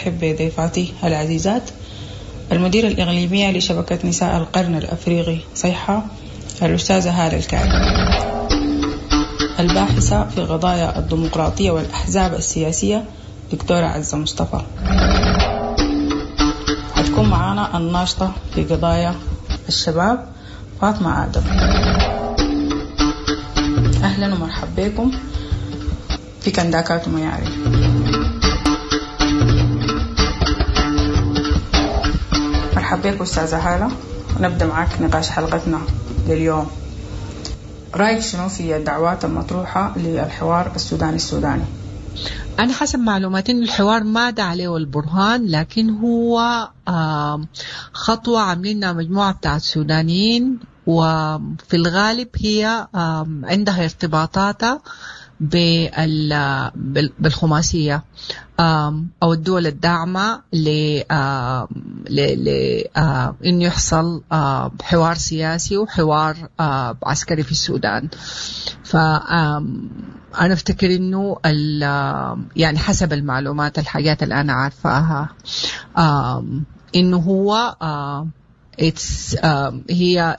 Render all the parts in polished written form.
أرحب بضيفاتي العزيزات، المديرة الإقليمية لشبكة نساء القرن الأفريقي صيحة الأستاذة هالة الكعب، الباحثة في قضايا الديمقراطية والأحزاب السياسية دكتورة عزة مصطفى، هتكون معانا الناشطة في قضايا الشباب فاطمة آدم. أهلا ومرحبا بكم في كنداكات ومياري. مرحبا بك أستاذة هالة، ونبدأ معاك نقاش حلقتنا لليوم. رأيك شنو في الدعوات المطروحة للحوار السوداني السوداني؟ أنا حسب معلوماتي إنه الحوار ما دعا عليه البرهان، لكن هو خطوة عاملينها مجموعة بتاعت سودانيين، وفي الغالب هي عندها ارتباطاتها بالخماسية أو الدول الداعمة إنه يحصل حوار سياسي وحوار عسكري في السودان. ف أنا أفتكر إنه يعني حسب المعلومات الحاجات اللي أنا عارفاها، إنه هو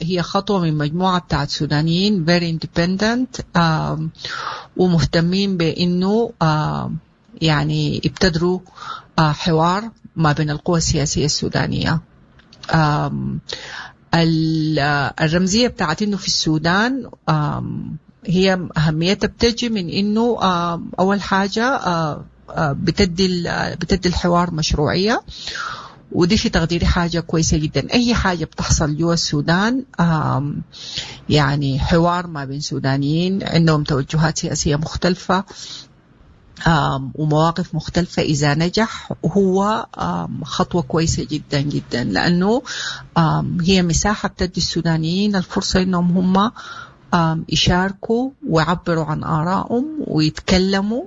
هي خطوة من مجموعة بتاعت سودانيين very independent، ومهتمين بإنه يبتدروا حوار ما بين القوى السياسية السودانية. الرمزية بتاعت إنه في السودان، هي أهميتها بتجي من إنه، أول حاجة، بتدي الحوار مشروعية، ودي في تقديري حاجة كويسة جدا. أي حاجة بتحصل جوا السودان، حوار ما بين سودانيين عندهم توجهات سياسية مختلفة، ومواقف مختلفة، إذا نجح هو، خطوة كويسة جدا جدا، لأنه، هي مساحة بتدي السودانيين الفرصة إنهم هم، يشاركوا ويعبروا عن آرائهم ويتكلموا،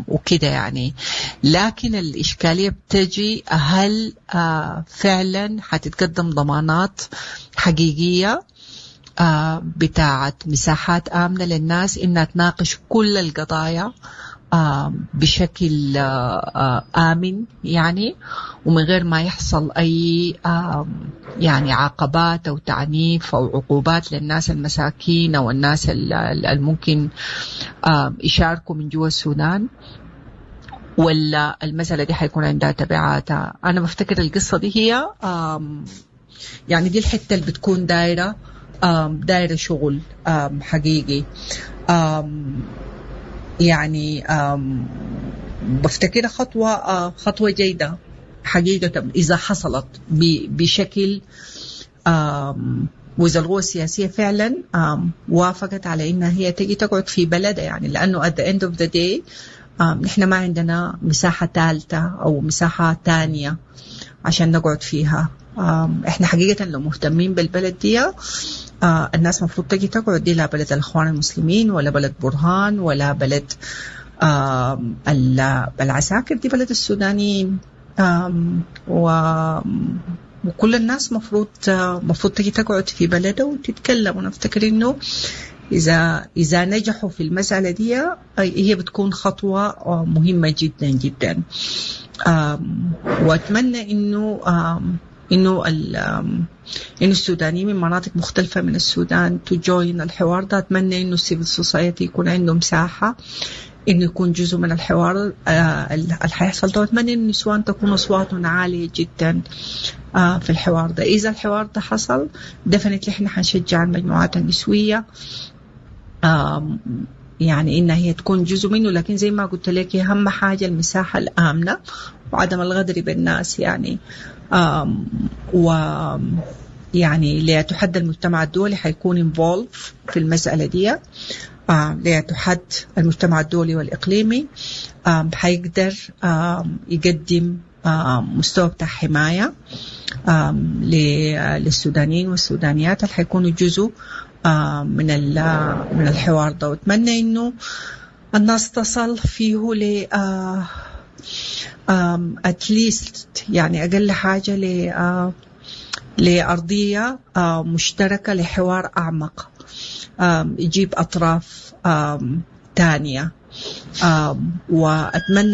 وكده يعني. لكن الإشكالية بتجي هل، فعلا حتتقدم ضمانات حقيقية، بتاعت مساحات آمنة للناس إنها تناقش كل القضايا، بشكل، آمن ومن غير ما يحصل أي، عقبات أو تعنيف أو عقوبات للناس المساكين أو الناس الممكن، يشاركوا من جوا السودان، ولا المسألة دي حيكون عندها تبعاتها. أنا بفتكر القصة دي هي، دي الحتة اللي بتكون دايرة شغل، حقيقي. بفتكرها خطوة جيدة حقيقة إذا حصلت بشكل، وإذا القوى السياسية فعلا، وافقت على إنها هي تجي تقعد في بلدها، لأنه at the end of the day، نحن ما عندنا مساحة ثالثة أو مساحة تانية عشان نقعد فيها. إحنا حقيقة لو مهتمين بالبلد دي، الناس مفروض تجي تقعد دي، لا بلد الإخوان المسلمين ولا بلد برهان ولا بلد، العساكر، دي بلد السودانيين. وكل الناس مفروض تجي تقعد في بلده وتتكلم. ونفتكر إنه إذا نجحوا في المسألة دي، هي بتكون خطوة، مهمة جدا جدا. وأتمنى إنه السودانيين من مناطق مختلفة من السودان to join الحوار ده. أتمنى إنه السيفل سوسايتي يكون عندهم مساحة إنه يكون جزء من الحوار، اللي حيحصل ده. وأتمنى إنه النسوان تكون أصواتهم عالية جدا، في الحوار ده. إذا الحوار ده حصل definitely إحنا حنشجع المجموعات النسوية، إنها هي تكون جزء منه. لكن زي ما قلت لك أهم حاجة المساحة الآمنة وعدم الغدر بالناس، و ليتحدى المجتمع الدولي حيكون involved في المسألة دي، ليتحد المجتمع الدولي والإقليمي، حيقدر، يقدم، مستوى بتاع حماية، للسودانيين والسودانيات اللي حيكونوا جزء، من الحوار ده. وأتمنى إنه الناس تصل فيه ل، at least أقل حاجة لأرضية، مشتركة لحوار أعمق، يجيب أطراف، تانية. وأتمنى